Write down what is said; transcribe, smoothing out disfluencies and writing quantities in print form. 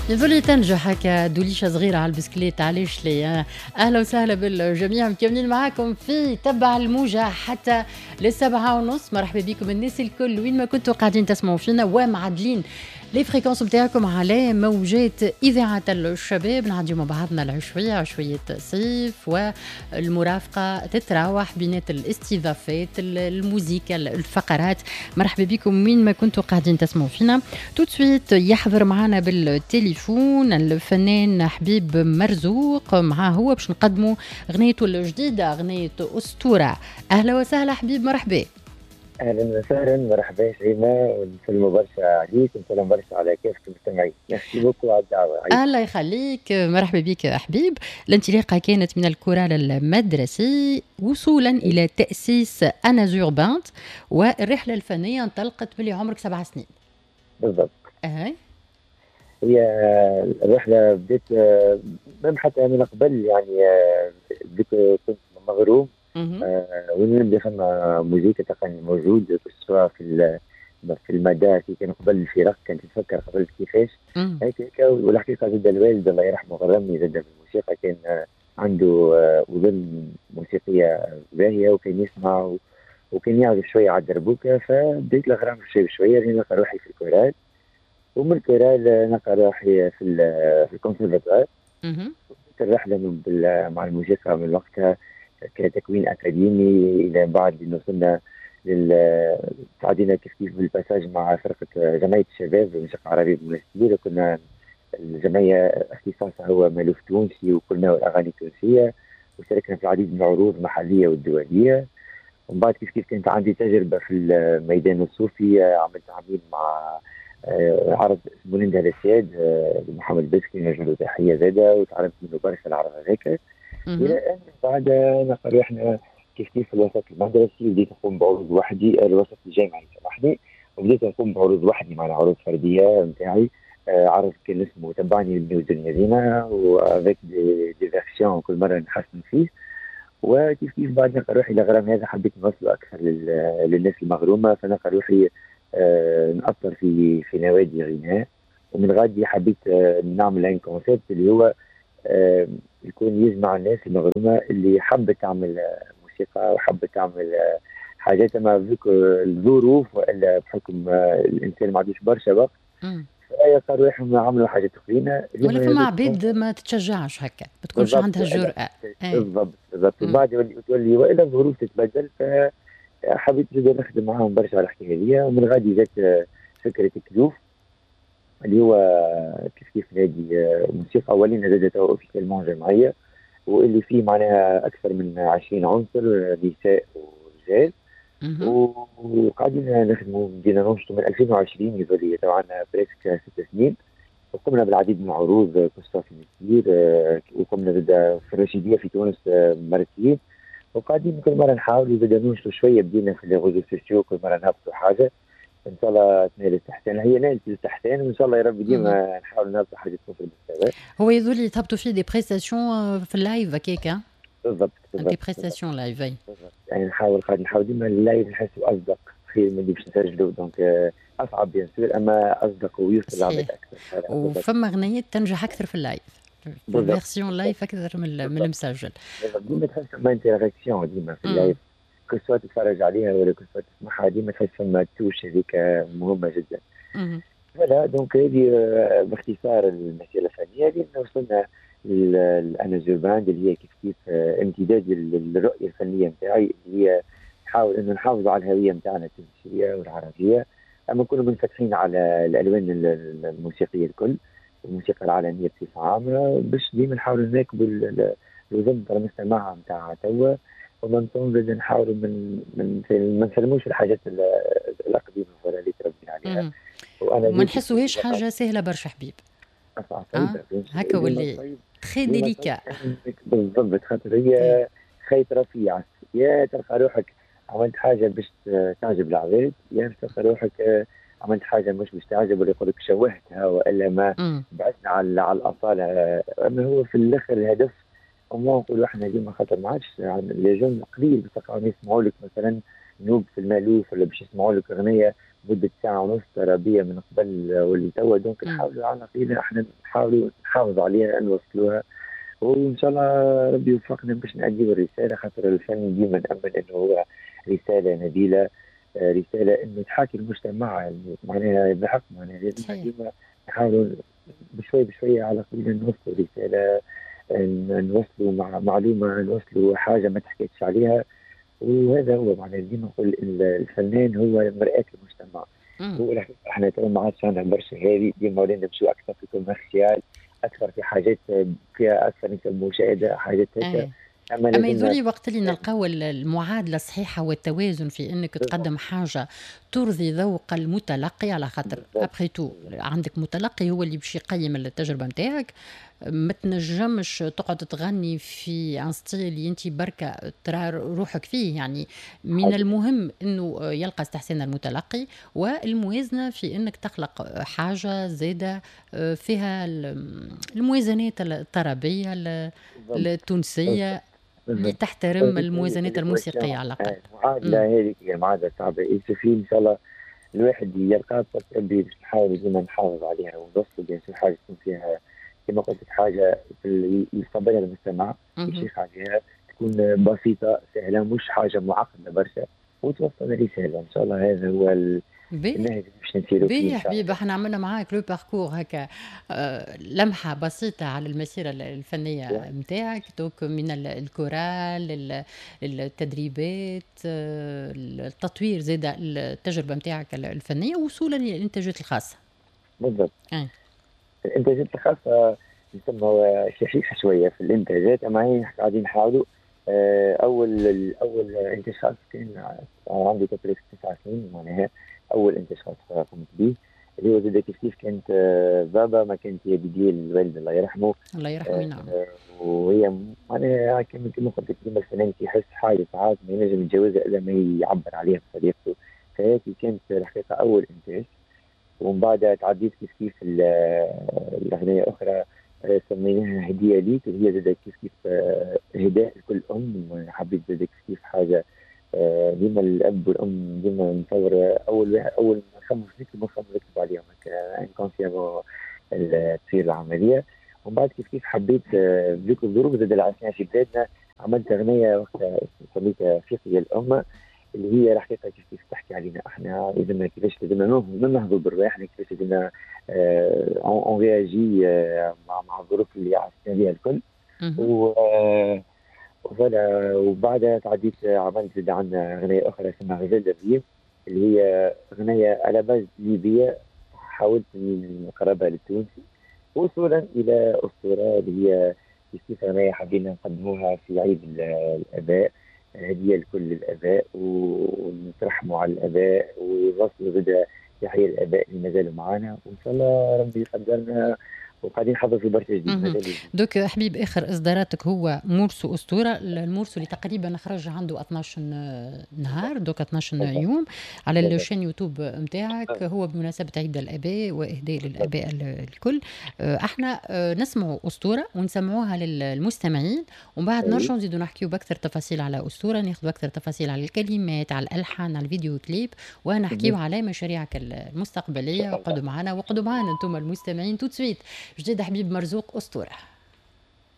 يظل تنجح هكا دوليشه صغيرة على البسكليت، علاش ليه؟ اهلا وسهلا بالجميع، مكملين معاكم في تبع الموجه حتى لل7:30. مرحبا بكم الناس الكل وين ما كنتوا قاعدين تسمعوا فينا ومعدلين les fréquences نتاعكم على موجات اذاعة الشباب. نعديو مع بعضنا العشويه، عشويه صيف، والمرافقه تتراوح بينات الاستضافات، الموزيكا، الفقرات. مرحبا بكم وين ما كنتوا قاعدين تسمعوا فينا. tout de suite يحضر معنا بالتليفون الفنان حبيب مرزوق، معاه هو باش نقدموا غنيته الجديده، غنية اسطوره. اهلا وسهلا حبيب، مرحبا. اهلا وسهلا، مرحبا شيماء، ونسلموا برشا عليك ونسلم برشا على كافة المستمعين. merci beaucoup على الدعوه. الله يخليك، مرحبا بك حبيب. الانطلاقة كانت من الكورال المدرسي وصولا الى تاسيس انازور باند، والرحلة الفنية انطلقت ملي عمرك 7 سنين. بالضبط. هي الرحلة بدات même حتى من قبل، يعني بديت كنت مغروم وين نبدا فما موزيكا تلقاني موجود، سواء في المدارس كان قبل الفرق، كانت تفكر قبل كيفاش هيك. والحقيقة زاد الوالد الله يرحمه غرمني زاد بالموسيقى، كان عنده اذن موسيقية باهيه وكان يسمع وكان يعزف شوية على الدربوكه، فبديت الغرام شوي بشوية لين نلقى روحي في الكورال، ومن الكورال نلقى روحي في الكونسرفاتوار. الرحلة مع الموسيقى من وقتها كتكوين اكاديمي الى بعد انه وصلنا لل تعدينا كيف كيف بال passage مع فرقه جمعية الشباب الموسيقى العربية بالمنستير. كنا الجمعية اختصاصها هو مالوف تونسي وكلنا الاغاني التونسيه، وشاركنا في العديد من العروض المحلية والدوليه. ومن بعد كيف كيف كانت عندي تجربه في الميدان الصوفي، عملت عامين مع عرض اسمه ننده السياد لمحمد بسكي، نوجه له تحية زاده، وتعلمت منه برشا العرض هذاك. الى ان بعد نقل احنا كيف كيف في الوسط المدرسي بديت نقوم بعروض وحدي، الوسط الجامعي سامحني، وبديت نقوم بعروض وحدي مع عروض فردية نتاعي. عرض كان اسمه تبعني نبنيو الدنيا زينه، و avec des versions كل مرة نحسن فيه. وكيف كيف بعد نلقى روحي الغرام هذا حبيت نوصله اكثر للناس المغرومه، فنلقى روحي نأطر في نوادي غناء، ومن غادي حبيت نعمل un concept اللي هو يكون يجمع الناس المغرومه اللي حبت تعمل موسيقى وحبت تعمل حاجات، اما vu que الظروف والا بحكم الانسان ما عندوش برشا وقت فيلقى روحهم عملوا حاجات اخرين. ولا فما عباد ما تتشجعش هكا، ما تكونش عندها الجرأة. بالضبط بالضبط. وبعد تولي والا الظروف تتبدل، فحبيت زاد نخدم معاهم برشا على الحكاية هذه. ومن غادي جات فكرة كلوف، اللي هو كيف كيف نادي موسيقى، ولينا زاد officiellement جمعيه، واللي فيه معناها اكثر من 20 عنصر، نساء ورجال، وقاعدين نخدموا. بدينا ننشطوا من 2020، يظل طبعا presque 6 سنين، وقمنا بالعديد من العروض que ce soit في المنستير وقمنا زاد في الرشيديه في تونس مرتين، وقاعدين كل مرة نحاولوا زاد ننشطوا شويه. بدينا في les réseaux sociaux، كل مرة نهبطوا حاجه، ان شاء الله تنال الاستحسان. هي نالت الاستحسان، وان شاء الله يا رب ديما نحاول نهبطوا حاجة تكون في المستوى. هو يظل تهبطوا فيه des prestations في ال live هكاك؟ بالضبط. بالضبط، des prestations live. يعني نحاول قاعد نحاول ديما ال live نحسه اصدق خير من اللي باش نسجلوا، donc اصعب bien sûr اما اصدق ويوصل للعباد اكثر. وفما غنيات تنجح اكثر في ال live، في ال version live اكثر من المسجل. ديما تحس فما interaction ديما في ال live، que ce soit تتفرج عليها ولا que ce soit تسمعها، ديما تحس فما touche هذيك مهمة جدا. voilà، donc هذه باختصار المسيرة الفنيه، لان وصلنا للانازور باند، اللي هي كيف كيف امتداد للرؤية الفنية نتاعي، اللي هي نحاول انه نحافظ على الهوية نتاعنا التونسية والعربيه، اما نكونوا منفتحين على الالوان الموسيقية الكل، الموسيقى العالمية بصفة عامه، باش ديما نحاولوا نواكبوا الوزن تاع المستمع نتاع توا، ومن زاد نحاولوا من ما نسلموش الحاجات القديمة ولا اللي تربينا عليها. وانا ما نحسوهاش حاجة سهلة برشا حبيب. هكا واللي très délicat. بالضبط، خاطر هي خيط رفيع، يا تلقى روحك عملت حاجة باش تعجب العباد، يا تلقى روحك عملت حاجة مش باش تعجب ولا يقول لك شوهتها والا ما بعدنا على الاصاله. اما هو في الاخر الهدف وما نقولوا احنا ديما، خاطر ما عادش les jeunes قليل باش تلقاهم يسمعوا لك مثلا نوب في المالوف ولا باش يسمعوا لك اغنية مده ساعة ونص ترابيه من قبل واللي توا، donc نحاولوا على الأقل احنا نحاولوا نحافظ عليها، نوصلوها، وان شاء الله ربي يوفقنا باش نأديو الرساله، خاطر الفن ديما نأمن انه هو رسالة نبيله، رسالة انه تحاكي المجتمع معناها بحق، معناها لازم ديما نحاولوا بشوي بشوية على الاقل نوصلوا رساله، نوصلوا مع معلومه، نوصلوا حاجة ما تحكيتش عليها. وهذا هو معناها ديما نقول الفنان هو مرآة المجتمع. هو احنا تو ما عادش عندنا برشا هذه، ديما ولينا نمشيو اكثر في commercial، اكثر في حاجات فيها اكثر نسب مشاهده، حاجات هكا. اما يظهرلي وقت اللي نلقاو المعادلة الصحيحة والتوازن في انك تقدم حاجة ترضي ذوق المتلقي، على خاطر après tout عندك متلقي هو اللي باش يقيم التجربة نتاعك. ما تنجمش تقعد تغني في un style اللي انت بركة ترى روحك فيه، يعني من المهم انه يلقى استحسان المتلقي، والموازنه في انك تخلق حاجة زاده فيها الموازنات الطربيه التونسية اللي تحترم الموازنات الموسيقية على الاقل. المعادلة هذيك هي المعادلة صعبه، إن شاء الله الواحد يلقاها باش نحاول ديما نحافظ عليها ونوصلوا bien sûr حاجة تكون فيها كما قلت لك حاجة في يستقبلها المستمع، يشيخ عليها، تكون بسيطة سهله، مش حاجة معقدة برشا، وتوصل رساله. ان شاء الله هذا هو النهج باش نسيروا فيه. يا حبيبي، احنا عملنا معاك le parcours هكا، لمحه بسيطة على المسيرة الفنية نتاعك، donc من الكورال، التدريبات، التطوير، زاد التجربة نتاعك الفنيه، وصولا للانتاجات الخاصه. بالضبط. الانتاجات الخاصة يسمى شحيحة شوية في الانتاجات، اما هي قاعدين نحاولوا. اول انتاج خاص كان عندي تقريبا 9 سنين، معناها اول انتاج خاص قمت به اللي هو زاد كيف كيف كانت بابا ما كانت هي dédiée الوالد الله يرحمه. الله يرحمه، نعم. وهي معناها كما قلت لك ديما الفنان يحس حاجة ساعات ما ينجم يتجاوزها الا ما يعبر عليها بطريقته، فهيك كانت الحقيقة اول انتاج. ومن بعد تعديت كيف كيف الاغنية اخرى سميناها هديه ليك، وهي زاد كيف كيف هداء لكل ام. حبيت زاد كيف كيف حاجة ديما الاب والام ديما نصور اول واحد، اول ما نخمم نكتب نخمم نكتب عليهم inconsciemment تصير العمليه. ومن بعد كيف كيف حبيت بذيك الظروف زاد اللي عشناها في بلادنا عملت اغنية وقتها سميتها فيقي الامه، اللي هي الحقيقة كيف كيف تحكي علينا احنا لازمنا كيفاش لازمنا ننهضوا برواحنا، كيفاش لازمنا on réagit مع الظروف اللي عشنا بها الكل. و voilà، وبعدها تعديت عملت زاد عندنا اغنية اخرى اسمها غزال الريم، اللي هي اغنية à la base ليبية حاولت اني نقربها للتونسي، وصولا الى اسطوره اللي هي كيف اغنية حبينا نقدموها في عيد الاباء، هديه لكل الاباء، ونترحموا على الاباء ونوصلوا زاد تحية الاباء اللي مازالوا معنا، وان شاء الله ربي يقدرنا وقاعدين نحضر في برشا جديد. donc حبيب، اخر اصداراتك هو morceau اسطوره، ال morceau اللي تقريبا خرج عنده 12 نهار، donc 12 يوم على ال chaîne YouTube نتاعك، هو بمناسبة عيد الاباء واهداء للاباء الكل. احنا نسمعوا اسطورة ونسمعوها للمستمعين، ومن بعد نرجعوا نزيدوا نحكيو باكثر تفاصيل على اسطوره، ناخذوا اكثر تفاصيل على الكلمات، على الالحان، على الفيديو كليب، ونحكيو على مشاريعك المستقبليه. وقعدوا معنا وقعدوا معنا انتم المستمعين. tout de suite جديد حبيب مرزوق، اسطوره.